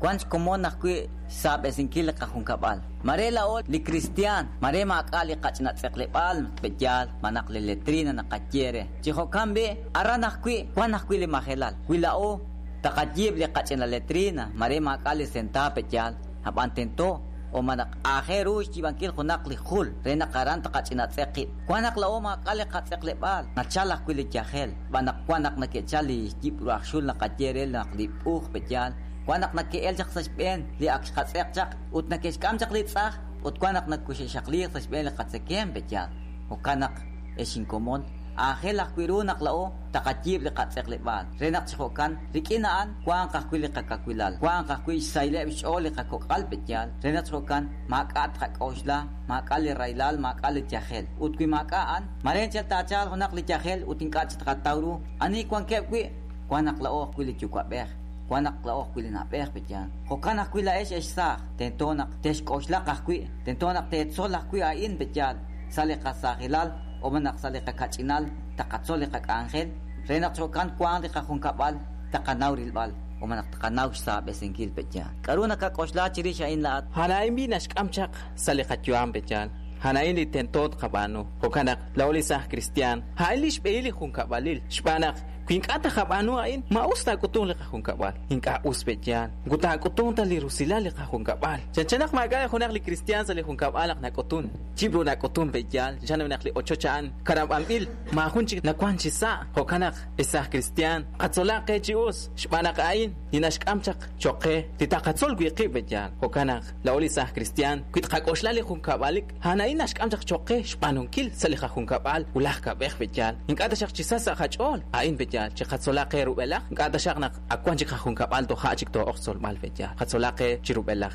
Wan xkomon ajwi' xsaab'esinkil li qajunkab'al. Mare laa'o li kristiaan, mare maak'a' li qach'ina tz'eqleb'aal pe'yaal malaj li letrina naqaye re. Chi jo'kan b'i', aran ajwi' wan ajwi' li majelal. Wi laa'o taqayiib' li qach'ina letrina, mare maak'a' li sentaab' pe'yaal, ab'an tento o malaj aajel ru xyiib'ankil junaq li jul re naq aran taqach'ina tz'eq qib'. Wan naq laa'o maak'a' li qatz'eqleb'aal, nachal ajwi' li yajel, xb'aan naq wan naq neke'chal li yib' ru aj xul naqaye re naq li b'uj pe'yaal, wan naq neke'el chaq sa' xb'een li ak xqatz'eq chaq ut neke'xk'am chaq li tz'aj ut wan naq nakuxe'xaqliiq sa' xb'een li qatzekemq pe'yaal. Jo'kan naq, ex inkomon, aajel ajwi' ru naq laa'o taqayiib' li qatz'eqleb'aal re naq chi jo'kan rik'in a'an wanq ajwi' li qakawilal, wanq ajwi' xsahileb' xch'ool li qakok'al pe'yaal re naq chi jo'kan maak'a' tqak'oxla, maak'a' li rahilal, maak'a' li yajel. Ut wi maak'a' a'an, mare anchal taachalq junaq li yajel ut ink'a' chik tqataw ru ani wankeb' wi', wan naq laa'o ajwi' li yuwa'b'ej, wan naq laa'o ajwi' li na'b'ej pe'yaal. Jo'kan ajwi' laa'ex ex saaj, tento naq texk'oxlaq ajwi', tento naq teetzol ajwi' a'in pe'yaal sa' li qasaajilal o malaj sa' li qakach'inal taqatzol li qak'anjel re naq jo'kan wanq li qajunkab'al taqanaw rilb'al o malaj taqanaw xsaab'esinkil pe'yaal. K'a'ru nakak'oxla chirix a'in laa'at? A'an b'i naxk'am chaq sa' li qayu'am pe'yaal. A'an li tento tqab'aanu. Jo'kan naq laa'o li saaj kristiaan, a'in li xb'ehil li junkab'alil. Xb'aan naq wi ink'a' taqab'aanu a'in, ma us taak'utunq li qajunkab'al. Ink'a' us pe'yaal. Moko taak'utunq ta li rusilal li qajunkab'al. Chanchan naq maak'a' junaq li kristiaan sa' li junkab'al naq nak'utun. Chib' ru nak'utun pe'yaal. Chanchan naq li ochoch a'an karab'anb'il, maajun chik nawan chi sa'. Jo'kan naq ex saaj kristiaan, qatzolaq qe chi us. Xb'aan naq a'in li naxk'am chaq cho'q qe li taqatzol wi' qib' pe'yaal. Jo'kan naq laa'o li saaj kristiaan, wi tqak'oxla li junkab'alik, a'an a'in naxk'am chaq cho'q qe xb'aanunkil sa' li qajunkab'al wulaj kab'ej pe'yaal. Ink'a' taxaq chi sa sa' qach'ool, a'in pe'yaal, chiqatzolaq qe rub'elaj, ink'a' taxaq naq ak wan chik qajunkab'al toja' chik too'oq xtzolb'al pe'yaal. Qatzolaq qe chi rub'elaj.